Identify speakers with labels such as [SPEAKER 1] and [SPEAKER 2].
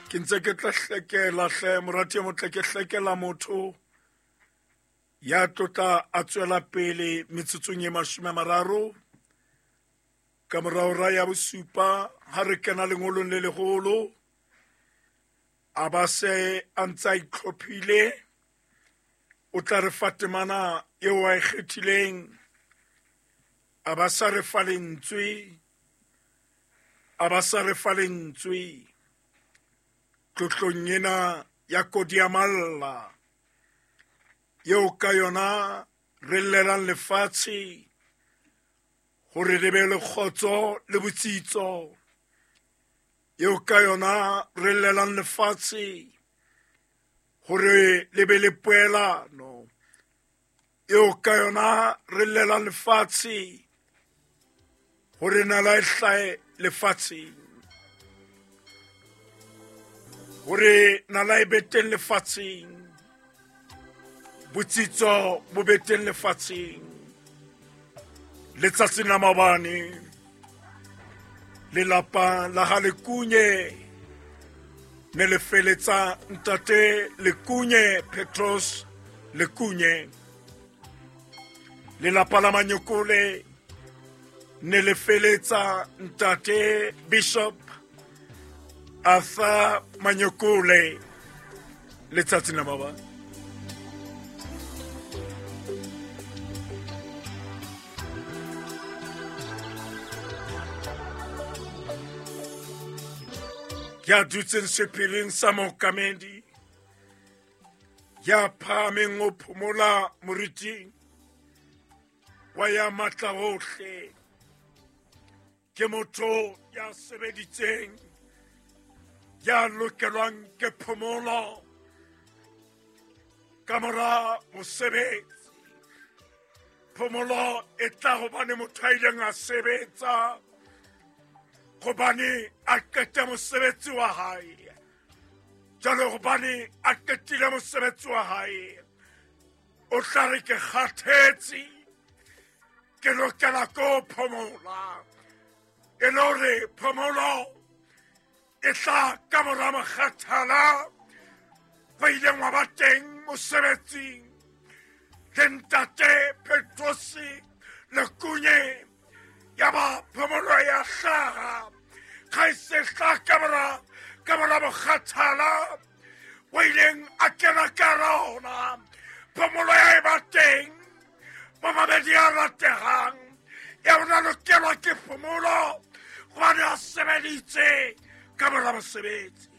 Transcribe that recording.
[SPEAKER 1] Ke ntse ke tla hlekela hle morati e motle, ke hlekela motho ya tlotla a tswela pele metsotsong e 30 ka morao ra ya bosupa ha re kena lengolong le leholo. A ba se a ntse a itlhophile, o tla re fa temana eo a e kgethileng, a ba sa re fa lentswe, a ba sa re fa lentswe tlotlong ena ya Kodiamalla eo ka yona re llelang lefatshe hore le be le kgotso le botsitso, eo ka yona re llelang lefatshe hore le be le poelano, eo ka yona re llelang lefatshe hore nala e hlahe lefatsheng, hore nala e be teng lefatsheng, botsitso bo be teng lefatsheng. Letsatsing la maobane lelapa la ga Lekunye ne le feletsa ntate Lekunye Petros Lekunye. Lelapa la Manyokole ne le feletsa ntate Bishop Arthur Manyokole letsatsing la maobane. Ya dutseng sephiring sa mookamedi, ya phahameng o phomola moriting wa ya matla ohle, ke motho ya sebeditseng, ya lokelwang ke phomolo ka mora mosebetsi. Phomolo e tla hobane motho a ileng a sebetsa, hobane a qete mosebetsi wa hae. Jwale hobane a qetile mosebetsi wa hae, o tla re ke kgathetse, ke lokela ko phomola. E le hore phomolo e tla ka mora mokgathala ba ileng wa ba teng mosebetsing le ntate Petrosi Lekunye. Ya ba phomolo ya hlaha ga e se hla ka mora mokgathala o ileng a kena ka rona. Phomolo ya e ba teng mamamedi a rategang, ya ona lokelwa ke phomolo gobane a sebeditse ka mora mosebetsi.